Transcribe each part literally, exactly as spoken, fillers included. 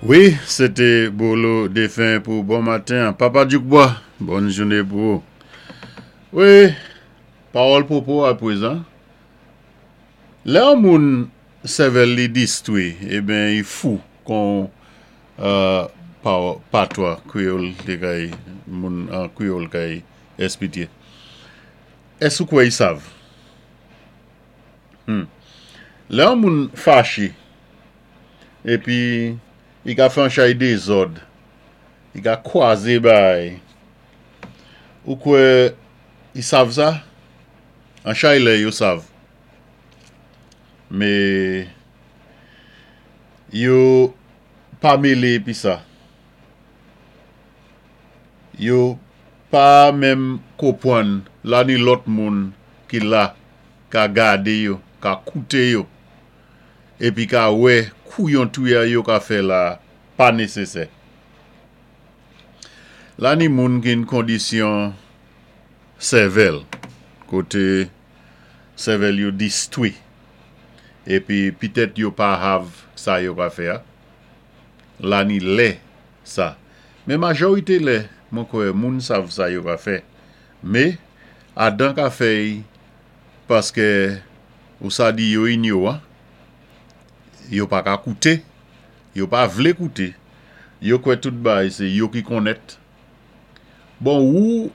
Wi, sé Bolo Défen pou bon maten. Papa Djoukbois, bòn jouné pou ou. Wi, pawòl pwopo apwézan. Lè yon moun sèvèl li distwi, eben i fou kon euh, patwa kwéyòl té kay moun an kwéyòl kay èsplike. Ès ou kwè i sav? Hmm. Lè yon moun faché, épi i ka fè an chay dézòd, i ka kwazé bay, ou kwè i sav sa? An chay lè yo sav. Mé yo pa mélé pi sa. Yo pa menm konpwann la ni lòt moun ki la ka gadé yo, ka kouté yo, épi ka wè kouyon touya yo ka fè la pa nésésè. La ni moun ki an kondisyon sèvèl, koté sèvèl yo distwi, épi pitèt yo pa hav sa yo ka fè a. La ni lè sa. Mé majorité lè, mwen kwè moun sav sa yo ka fè. Mé, adan ka fè paské ou sa di yo inyowan, yo pa ka kouté, yo pa vlé kouté, yo kwè tout bay sé yo ki konnèt. Bon, ou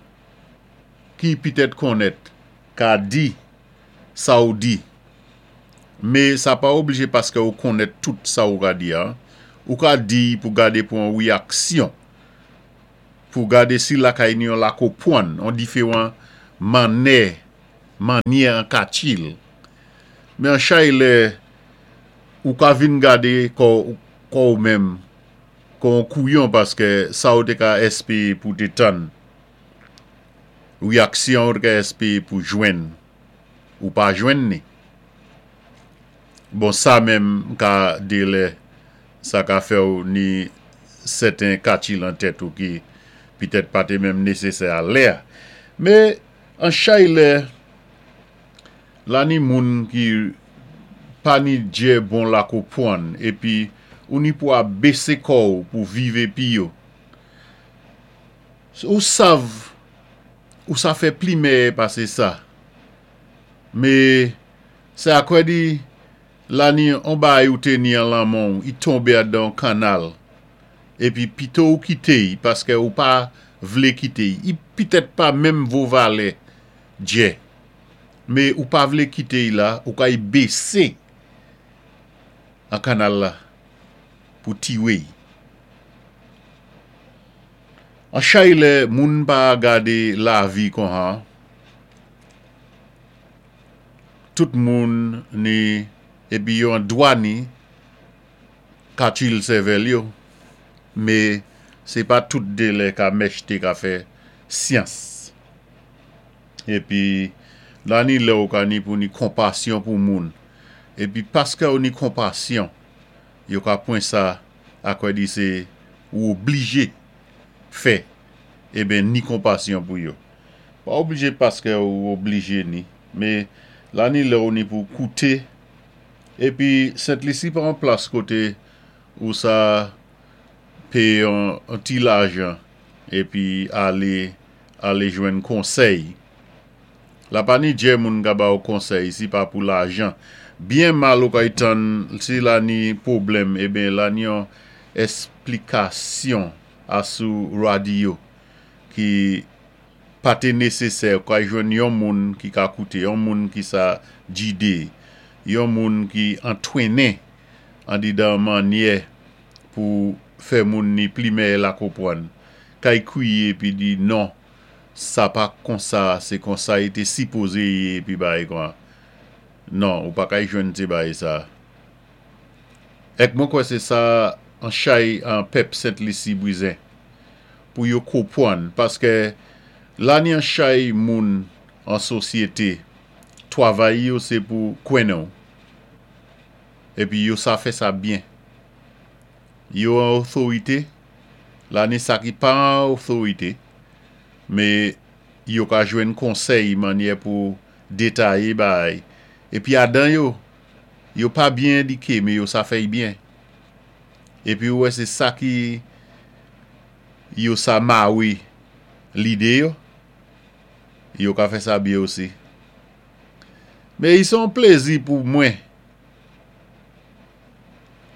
ki pitèt konnèt ka di sa ou di, mé sa pa oblijé paské ou konnèt tout sa ou ka di an. Ou ka di pou gadé pou an wéyaksyon, pou gadé si lakay ni an la konpwann, an diféwan mannè, mannyè an ka tchil. Mé an chay lè, ou ka vin gadé kò ou menm, kon kouyon paské sa ou té ka èspéwé pou té tann. Wéyaksyon ou té ka èspéwé pou jwenn, ou pa jwenn ni. Bon, sa menm ka dé lè, sa ka fè ou ni sèten katchil an tèt ou ki pitèt pa té menm nésésè a lè. Mé an chay lè, la ni moun ki pa ni djè bon la konpwann, épi ou ni pou a bésé kò ou pou viv épi yo. Ou sav, ou sa fè pli mèyè pasé sa. Mé, sé akwè di, la ni an bay ou té ni an lanmen, i tonbé adan kannal. Épi pito ou kité y, paské ou pa vlé kité y. I pitèt pa menm vo valè djè. Mé ou pa vlé kité y la, ou ka y bésé an kannal la pou tiwé y. An chay lè, moun pa gadé lavi kon han, tout moun ni, épi yo an dwa ni, katchil sèvèl yo, mé sé pa tout dé lè ka mèchté ka fè syans. Épi, la ni lè ou ka ni pou ni konpasyon pou moun. Épi, paské ou ni konpasyon, yo ka pwan sa akwè di sé ou oblijé fè, eben ni konpasyon pou yo. Pa oblijé paské ou oblijé ni, mé la ni lè ou ni pou kouté, épi Sent Lisi pa an plas koté ou sa péyé an, an ti lajan, épi alé, alé jwenn konsèy. La pa ni djè moun ka ba ou konsèy si pa pou lajan. Byen mal ou kay tann, si la ni pwoblèm, eben la ni an èsplikasyon asou radyo ki pa té nésésè, ou kay jwenn yon moun ki ka kouté, yon moun ki sa jidé, yon moun ki antwénen an didan mannyè pou fè moun ni pli mèyè la konpwann. Kay kwiyé pi di non, sa pa konsa, sé konsa i té sipozé yé pi bay kwa. Non, ou pa kay jwenn ti bay sa. Èk mwen kwè sé sa an chay an pèp Sent Lisi bwizin pou yo konpwann, paské la ni an chay moun an sosyété, twavay yo sé pou kwennen ou. Épi yo sa fè sa byen. Yo an otorité, la ni sa ki pa an otorité, mé yo ka jwenn konsèy mannyè pou détayé bay. Épi adan yo, yo pa byen édiké, mé yo sa fè y byen. Épi ou wè sé sa ki yo sa mawi lidé yo, yo ka fè sa byen osi. Mé i sé yon plézi pou mwen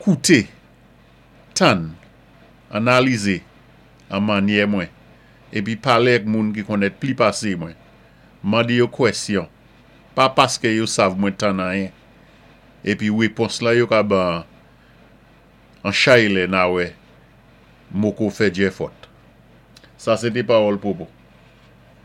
kouté, tann, analizé an mannyè mwen, épi palé ak moun ki konnèt pli pasé mwen, mandé yo kwèsyon, pa paské yo sav mwen tann anyen, épi wépons la yo ka ban an chay lè na wè moko fè djè fòt. Sa sé té pawòl Popo.